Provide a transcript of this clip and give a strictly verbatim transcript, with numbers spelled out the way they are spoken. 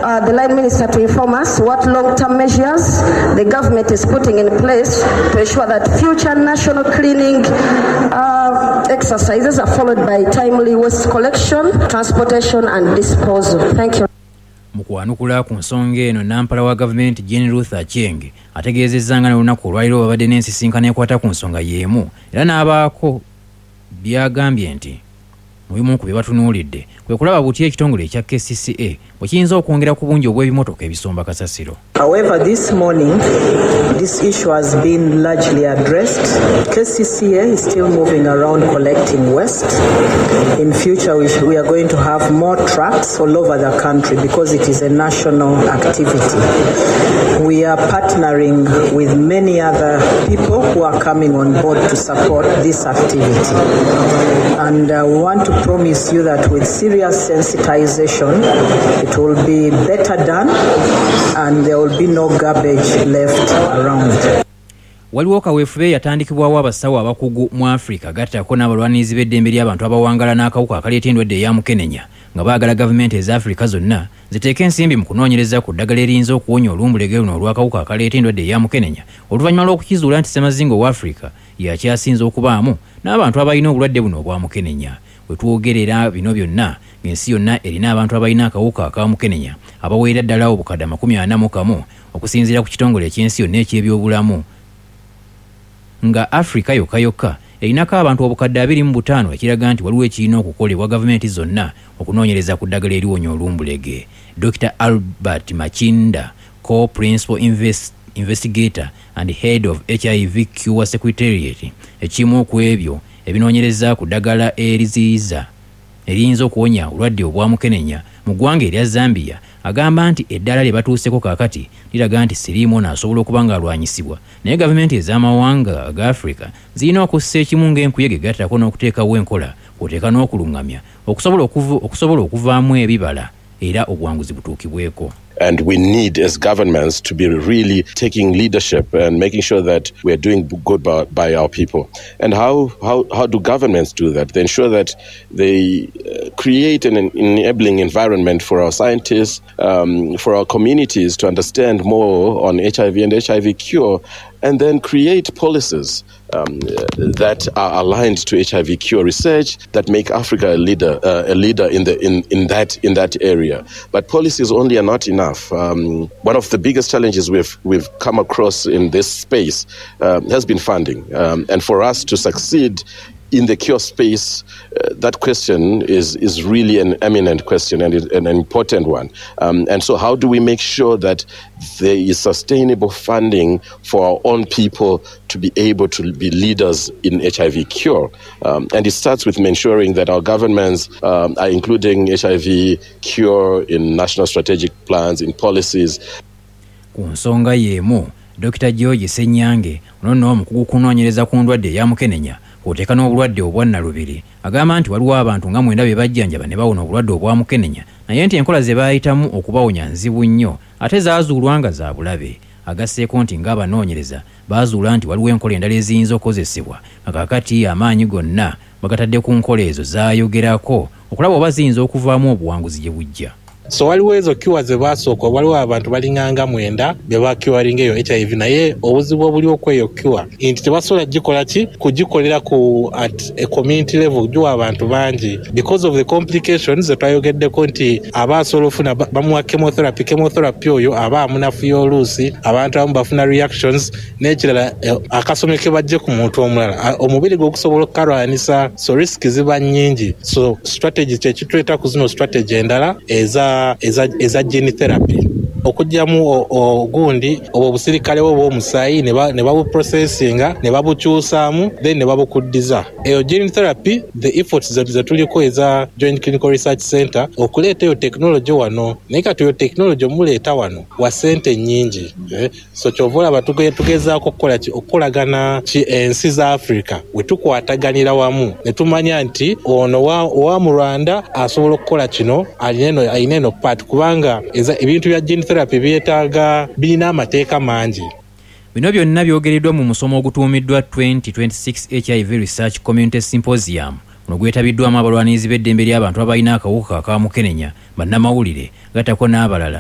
uh, the line minister to inform us what long-term measures the government is putting in place to ensure that future national cleaning uh, exercises are followed by timely waste collection, transportation and disposal. Thank you. Mu kwanukula ku nsonga eno, nampala wa gavumenti Jane Ruth Aceng ategeezezza nga n'olunaku olwaliro babadde n'ensisinkano ekwata ku nsonga y'emu, era n'abaako byagambye nti mu bimu ku bye batunuulidde kwe kulaba butya ekitongole ekya K C C A bwe kiyinza okwongera ku bungi obw'ebimotoka ebisomba kasasiro. However, this morning, this issue has been largely addressed. K C C A is still moving around collecting waste. In future, we, we are going to have more trucks all over the country because it is a national activity. We are partnering with many other people who are coming on board to support this activity. And uh, we want to promise you that with serious sensitization, it will be better done and there will be no garbage left around. Waliwo kaweefube yatandikibwawo abasawo abakugu mu Afrika, gattako n'abalwanirizi b'eddembe ly'abantu abawangala n'akawuka akaleeta endwadde eya mukenenya, nga baagala gavumenti eza Afrika zonna ziteeke ensimbi mu kunoonyereza ku ddagala eriyinza okuwonya olumbulege luno olw'akawuka akaleeta endwadde eya mukenenya, oluvannyuma lw'okukizuula nti ssemazinga owa Afrika yakyasinze okubaamu n'abantu abalina obulwadde buno obwa mukenenya. We twogerera bino byonna, ng'ensi yonna erina abantu abalina akawuka aka mukenenya abaweera ddala obukadde amakumi ana mu kamu, okusinziira ku kitongole eky'ensi yonna eky'ebyobulamu, nga Afrika yokka yokka erinako abantu obukadde abiri mu butaano, ekiraga nti waliwo ekirina okukolebwa gavumenti zonna okunoonyereza ku ddagala eriwonya olumbulege. Doctor Albert Machinda, co-principal invest, investigator and head of H I V Cure Secretariat, ekimu ku ebyo ebinoonyereza ku ddagala eriziyiza eriyinza okuwonya obulwadde obwa mukenenya mu ggwanga erya Zambia, agamba nti eddaala lye batuuseko kaakati liraga nti siriimu ono asobola okuba ng'alwanyisibwa, naye gavumenti ez'amawanga aga Afrika zirina okussa ekimu ng'enkuyege, gattako n'okuteekawo enkola kw'oteeka n'okuluŋŋamya okusobola okusobola okuvaamu ebibala era obuwanguzi butuukibweko. And we need, as governments, to be really taking leadership and making sure that we are doing good by, by our people. And how, how, how do governments do that? They ensure that they uh, create an enabling environment for our scientists, um, for our communities to understand more on H I V and H I V cure, and then create policies um, that are aligned to H I V cure research that make Africa a leader, uh, a leader in, the, in, in, that, in that area. But policies only are not enough. Um, one of the biggest challenges we've, we've come across in this space um, has been funding. Um, and for us to succeed in the cure space, uh, that question is, is really an eminent question and an important one. Um, and so, how do we make sure that there is sustainable funding for our own people to be able to be leaders in H I V cure? Um, and it starts with ensuring that our governments um, are including H I V cure in national strategic plans, in policies. Ku nsonga y'emu, Doctor George Senyange, ono nno omukugu kunoonyereza ku ndwadde eya mukenenya kw'oteeka n'obulwadde obwa nnalubiri, agamba nti waliwo abantu nga mwenda be bajjanjaba ne bawona obulwadde obwa mukenenya, naye nti enkola ze baayitamu okubawonya nzibu nnyo ate zaazuulwa nga za bulabe. Agasseeko nti ng'abanoonyereza baazuula nti waliwo enkola endala eziyinza okukozesebwa, nga kaakati amaanyi gonna bagatadde ku nkola ezo zaayogerako okulaba oba ziyinza okuvaamu obuwanguzi gye bujja. So waliwo ezo cure ze basooka, waliwo abantu balinganga mwenda be bacuringa eyo H I V, naye obuzibu obuliwo kweyo cure nti tebasobola gikola ki kugikolera ku at a community level, giwa abantu bangi because of the complications zetwayogeddeko, nti aba asobola ofuna bamuwa chemotherapy, chemotherapy oyo aba amunafuya, oluusi abantu abamu bafuna reactions. N'ekirala, eh, akasome ke bajje ku muntu omulala, omubiri gwe okusobola okukalwanisa, so risk ziba nnyingi. So strategy kyekituleeta ku zino strategy endala eza eza, eza gene therapy, okugyamu ogundi obwo obusirikale bwo obw'omusaayi ne babuprocessinga ne babukyusaamu, then ne babukuddiza. Eyo gene therapy, the efforts zetuliko eza Joint Clinical Research Center okuleeta eyo technology wano, naye kati eyo technology omuleeta wano wa ssente nnyingi, eh? So kyova olaba tugezaako okukola ki, okukolagana ki ensi za Africa we tukwataganira wamu ne tumanya nti ono owa mu Rwanda asobola okukola kino, alina eno part, kubanga ebintu bya gene therapy byetaaga birina amateeka mangi. Bino byonna byogereddwa mu musomo ogutuumiddwa twenty twenty-six H I V Research Community Symposium. Guno gwetabiddwamu abalwanirizi b'eddembe ly'abantu abalina akawuka ka mukenenya, bannamawulire, gattako n'abalala.